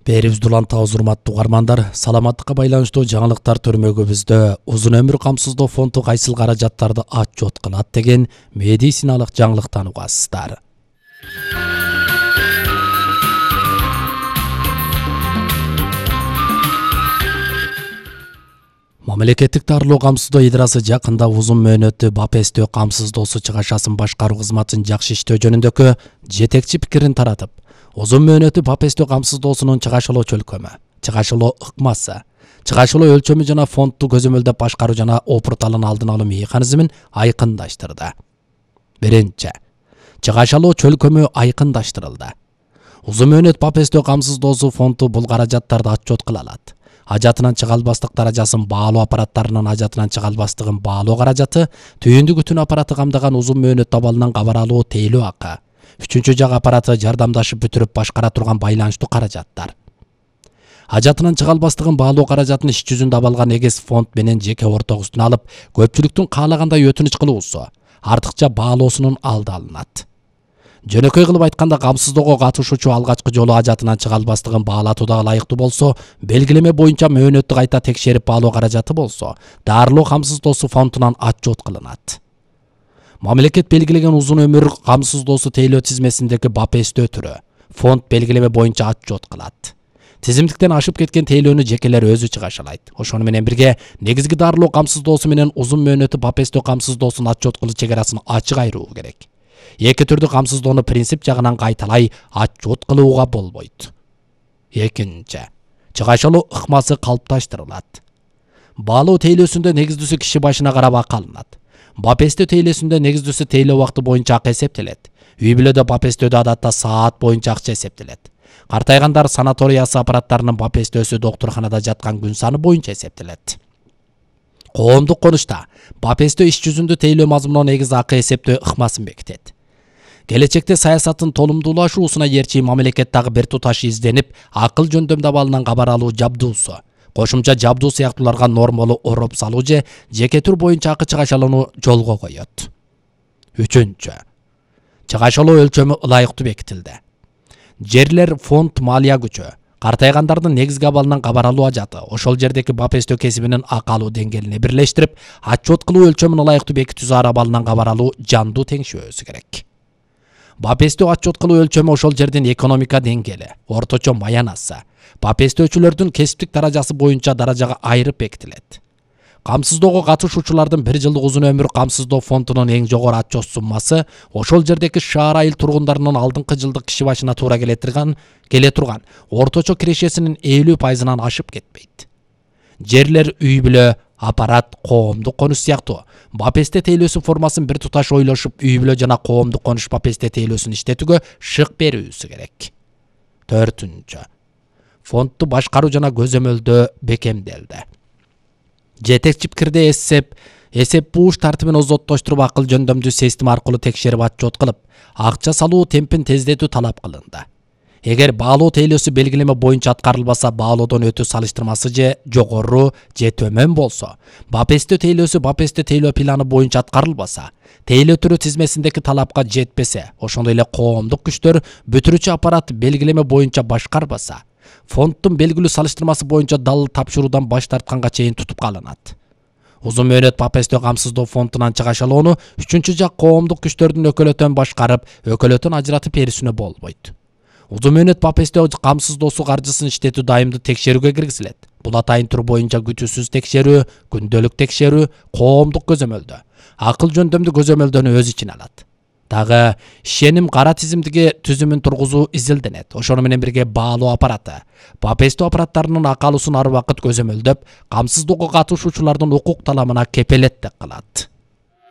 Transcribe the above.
Берибизди улантабыз урматтуу угармандар. Саламаттыкка байланыштуу жаңылыктар төрмөгүбүздө узун өмүр камсыздоо фонду кайсыл каражаттарды отчет кылат деген медициналык жаңылыктан угасыздар. Мамлекеттик дарылоо камсыздоо идрасы жакында узун мөөнөттүү БАПСТ камсыздоосу чыгашасын башкаруу кызматын жакшы иштөө жөнүндөгү жетекчи пикирин таратып, узун мөөнөттүү БАПСТ камсыздоосунун чыгашылоо чөлкөмү, чыгашылоо ыкмасы, чыгашылоо өлчөмү жана фондду көзөмөлдөп башкаруу жана опурталын алдын алуу механизмин айкындаштырды. Биринчи, чыгашылоо чөлкөмү айкындаштырылды. Узун мөөнөт БАПСТ камсыздоосу фонду бул каражаттарды отчет кыла алат. Ажатынан чыга албастык даражасын баалоо аппараттарынын ажатынан чыга албастыгын баалоо каражаты, түйүндүк күтүн аппараты камдаган узун мөөнөт абалынан кабар алуу тейлөө акы, үчүнчү жак аппараты жардамдашып бүтүрүп башкара турган байланыштуу каражаттар. Ажатынан чыга албастыгын баалоо каражатын иш жүзүндө абалган эгес фонд менен жеке ортогусуна алып, көпчүлүктүн каалагандай өтүнүч кылуусу, артыкча баалоосунун алды алынат. Жөнөкөй кылып айтканда, камсыздоого катышуучу алгачкы жолу ажатынан чыга албастыгын баалатууга ылайыктуу болсо, белгилеме боюнча мөөнөттү кайта текшерип баалоо каражаты болсо, дарылоо камсыздоосу фондунан отчет кылынат. Мамлекет белгилеген узун өмүр камсыздоосу тейлөө тизмесиндеги БАПСТ түрү фонд белгилеме боюнча отчет кылат. Тизимдиктен ашып кеткен тейлөөнү жекелер өзү чыгашалайт. Ошону менен бирге негизги дарылоо камсыздоосу менен узун мөөнөттүү БАПСТ камсыздоосун отчет кылуу чегарасын ачык айыруу керек. Эки түрдүү камсыздоону принцип жагынан кайталай отчет кылууга болбойт. Экинчи, чыгашылоо ыкмасы калыпташтырылат. Баалоо тейлөөсүндө негиздүүсү киши башына карап акы алынат. БАПСТ тейлөөсүндө негиздүүсү тейлөө убакыты боюнча акы эсептелет. Үй бүлөдө БАПСТдө адатта саат боюнча акча эсептелет. Картайгандар санаториясы аппараттарынын БАПСТсү доктурханада жаткан күн саны боюнча эсептелет. Коомдук конушта БАПСТ иш жүзүндө тейлөө мазмунуна негиз акы эсептөө ыкмасын бекитет. Келечекте саясаттын толумдуулашуусуна ээрчи мамлекет дагы бир туташ изденип, акыл жөндөмдү абалынан кабар алуу жабдуусу, кошумча жабдуу сыяктууларга нормалуу ороп салуу же жеке түр боюнча акы чыгашалууну жолго коет. Үчүнчү, чыгашылоо өлчөмү ылайыктуу бекитилди. Жерлер фонд малия күчү, картайгандардын негизги абалынан кабар алуу ажаты, ошол жердеги БАПСТ кесибинин акы алуу деңгээлине бирлештирип, отчет кылуу өлчөмүн ылайыктуу бекитүү зар абалынан кабар алуу жандуу теңшөөсү керек. БАПСТ отчет кылуу өлчөмү ошол жердин экономика деңгээли, орточо маянасы, БАПСТчүлөрдүн кесиптик даражасы боюнча даражага айырып бекитилет. Камсыздоого катышуучулардын бир жылдык узун өмүр камсыздоо фондунун эң жогору отчет суммасы ошол жердеги шаар айыл тургундарынын алдыңкы жылдык киши башына туура келе турган орточо кирешесинин 50%-ынан ашып кетпейт. Жерлер, үй бүлө, аппарат, коомдук конуш сыяктуу БАПСТ тейлөөсү формасын бир туташ ойлошуп, үй бүлө жана коомдук конуш БАПСТ тейлөөсүн иштетүүгө шык берүүсү керек. Төртүнчү, фондду башкаруу жана көзөмөлдөө бекемделди. Жетекчи пикирде эсеп бууш тартибин озоттоштуруп, акыл жөндөмдүү система аркылуу текшерип отчет кылып, акча салуу темпин тездетүү талап кылынды. Эгер баалоо тейлөөсү белгилеме боюнча аткарылбаса, баалоодон өтүү салыштырмасы же жогору же төмөн болсо, БАПСТ тейлөөсү БАПСТ тейлөө планы боюнча аткарылбаса, тейлөө түрү тизмесиндеги талапка жетпесе, ошондой эле коомдук күчтөр бүтүрүүчү аппарат белгилеме боюнча башкарбаса, фонддун белгилүү салыштырмасы боюнча далыл тапшыруудан баш тартканга чейин тутуп калынат. Узун мөөнөт БАПСТ камсыздоо фондунан чыгашылоону үчүнчү жак коомдук күчтөрдүн өкөлөтөн башкарып, өкөлөтөн ажыратып берүүсүнө болбойт. Узун мөөнөт БАПСТ камсыздоосу каржысын иштетүү дайымдуу текшерүүгө киргизилет. Бул атайын тур боюнча күтүүсүз текшерүү, күндөлүк текшерүү, коомдук көзөмөлдөө, акыл жөндөмдүү көзөмөлдөнү өз ичине алат. Дагы ишеним кара тизимдиги түзүмүн тургузуу изилденет. Ошону менен бирге баалоо аппараты БАПСТ аппараттарынын акы алуусун ар убакыт көзөмөлдөп, камсыздоого катышуучулардын укук таламына кепелеттик кылат.